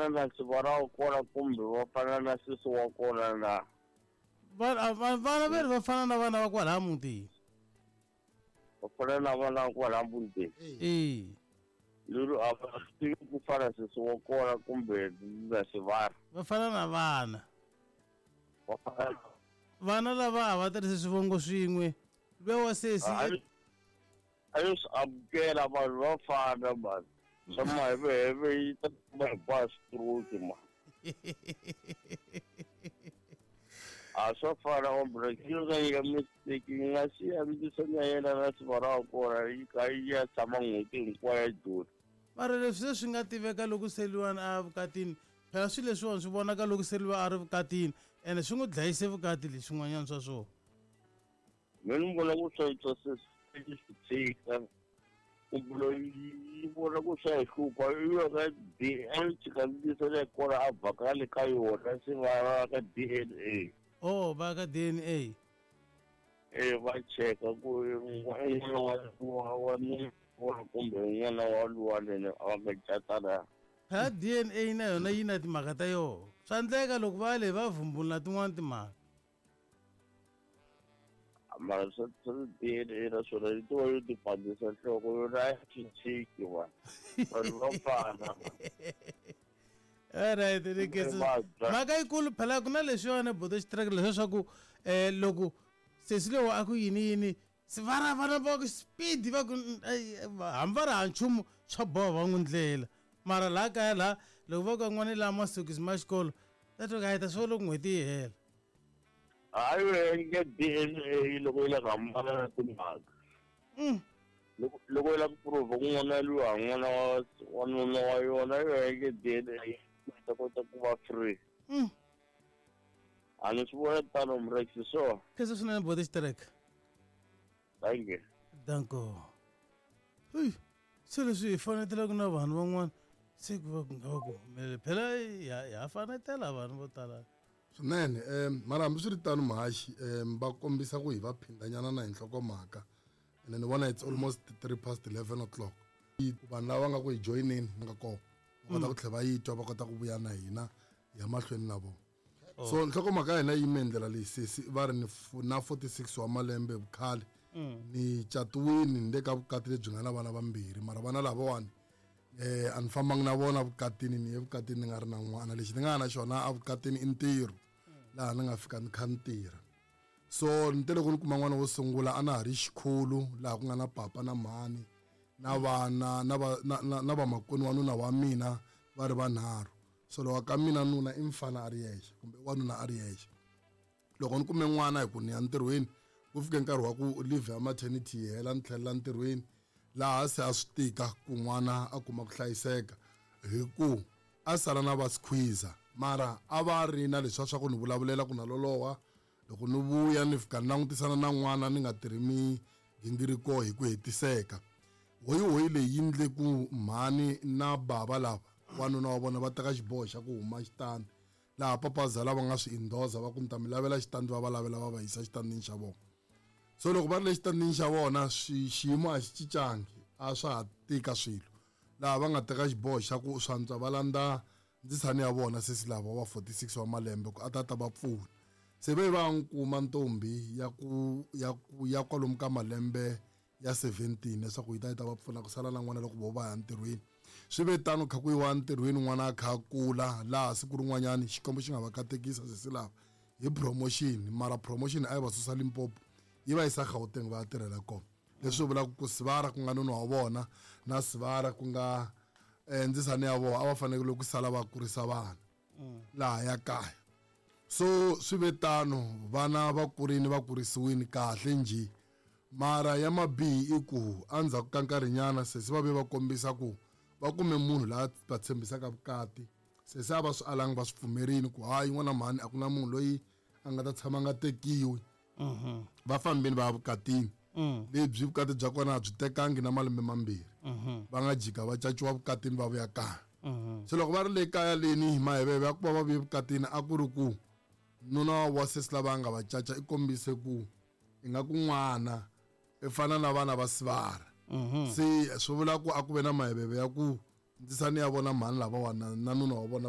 fana na sivara wa kona kumbe va fana na sesi wa kona na? Vana veri va fana na vana va kwalaya mutini. Va fana na vana va kwalaya mutini. E. Lero a va swi tivi ku fana sesi wa kona kumbe na sivara. Va fana na vana. Va fana vana lava a va tirhisi swivongo swin'we. Luya wa sesi a yo swi amukela vanhu va fana mani. Swa maheveheve yi ta kuma hinkwayo stroke ma. A swa fana ombre yi nga nyika mistake yi nga siya ndzisana ya yena na sivara wa kona yi kha yi ya tshama n'hweti hinkwayo ya Joni. Mara leswi se swi nga tiveka loko Seliwani a ya vukatini, phela swilo leswiwani swi vonaka loko Seliwa a ri vukatini ene swi n'wi dlayise vukati leswin'wanyana swa swona. Mina ni vona ku swa swa swi swi tshika kumbe loyi yi vona ku swa hi hlupha i ya ka D a yi tshika ndzisa leyi kona a vhakale ka yona se va va ka DNA. Oh, va ka DNA. E va cheka ku n'wana wa wa wa kumbe n'wana wa luwa lene a va nga cata na. Phela DNA na yona yi na timhaka ta yona. Swa endleka loko va le va vumbula tin'wana timhaka. Mara swa swa DNA na swona yi tiva yo ti pandzisa nhloko yona a yi cinciki va. Vanhu va fana. Alright, ni khensa. Mhaka yikulu phela ku na leswiwani bodo xitiraka leswiya swa ku loko sesi lowu a ku yini yini sivara vana va ku speed va ku hambi va ri ha nchumu swa boha va n'wi ndlela. Mara laha kaya laha loko va ku n'wana laha masokisi ma xikolo ta twa ka ta swo loko n'hweti yi hela. Hayi nge DNA loko yi la ku hambana na timhaka. Loko yi la ku prove ku n'wana luwa n'wana wa wanuna wa yona yo nge DNA yi ta kota ku va free. A ni swi vona tano Mrex so. Khensa swinene bodo xitireka. Thank you. Danko. Hey, se leswi hi fanetelaka na vanhu van'wana se ku va ku nga va ku humelele phela ha fanetela vanhu vo tala. Swinene mara hambi swi ri tano muhaxi va kombisa ku hi va phindanyana na hi nhlokomhaka ene ni vona it's almost 11:03 o'clock. Vanhu lava nga ku hi joyineni nga kona va kota ku tlhela va yi twa va kota ku vuya na hina hi ya mahlweni na vona. So nhlokomhaka ya hina yi yime hi ndlela leyi sesi va ri ni na 46 wa malembe vukhale ni catiwini ni le ka vukati lebyi nga na vana vambirhi mara vana lavawani a ni fambangi na vona vukatini ni ye vukatini ni nga ri na n'wana lexi ni nga na xona a vukatini i ntirho laha ni nga fika ni kha ni tirha. So ni te loko ni kuma n'wana wo sungula a na ha ri xikhulu laha ku nga na papa na mhani na vana na va na vamakwenu wa nuna wa mina va ri vanharhu. So loko ka mina nuna i mfana a ri yexe kumbe wanuna a ri yexe. Loko ni kume n'wana hi ku ni ya ntirhweni ku fike nkarhi wa ku leave ya maternity yi hela ni tlhelela ntirhweni laha se a swi tika ku n'wana a kuma ku hlayiseka hi ku a sala na va squeezer mara a va ri na leswiya swa ku ni vulavulela ku na loloha loko ni vuya ni fika ni langutisana na n'wana ni nga tirhi migingiriko hi ku hetiseka. Hoyihoyi leyi yi ndle ku mhani na bava lava wanuna wa vona va teka xiboho xa ku huma xitandi laha papazala va nga swi endorsa va ku ni ta mi lavela xitandi va va lavela va va yisa xitandini xa vona. So loko va ri le xitandini xa vona xiyimo a xi cincangi a swa ha tika swilo laha va nga teka xiboho xa ku swantswa va landza ndzisani ya vona sesi lava wa 46 wa malembe ku a ta ta va pfuna. Se ve va n'wi kuma ntombi ya ku ya ku ya kwalomu ka malembe ya 17 leswaku yi ta yi ta va pfuna ku sala na n'wana loko vo va ya ntirhweni. Swi ve tano kha ku yiwa ntirhweni n'wana a kha a kula laha siku rin'wanyani Xikwembu xi nga va katekisa sesi lava hi promotion mara promotion a yi va susa Limpopo yi va yisa Gauteng va ya tirhela kona. Leswi vulaka ku Sivara ku nga nuna wa vona na Sivara ku nga ndzisani ya vona a va fanekele ku sala va kurisa vana laha ya kaya. So swi ve tano vana va kurini va kurisiwini kahle njhe mara ya mabihi i ku endzhaku ka nkarhinyana sesi va ve va kombisa ku va kume munhu laha va tshembisaka vukati sesi a va swi alangi va swi pfumerini ku hayi n'wana mhani a ku na munhu loyi a nga ta tshama a nga tekiwi. Va fambini va ya vukatini lebyi vukati bya kona a byi tekangi na malembe mambirhi va nga jika va caciwa vukatini va vuya kaya. Se loko va ri le kaya leni maheveve ya ku va va vuye vukatini a ku ri ku nuna wa sesi lava nga va caca i kombise ku ingaku n'wana i fana na vana va Sivara. Se swi vula ku a ku ve na maheveve ya ku ndzisani ya vona mhani lavawani na nuna wa vona.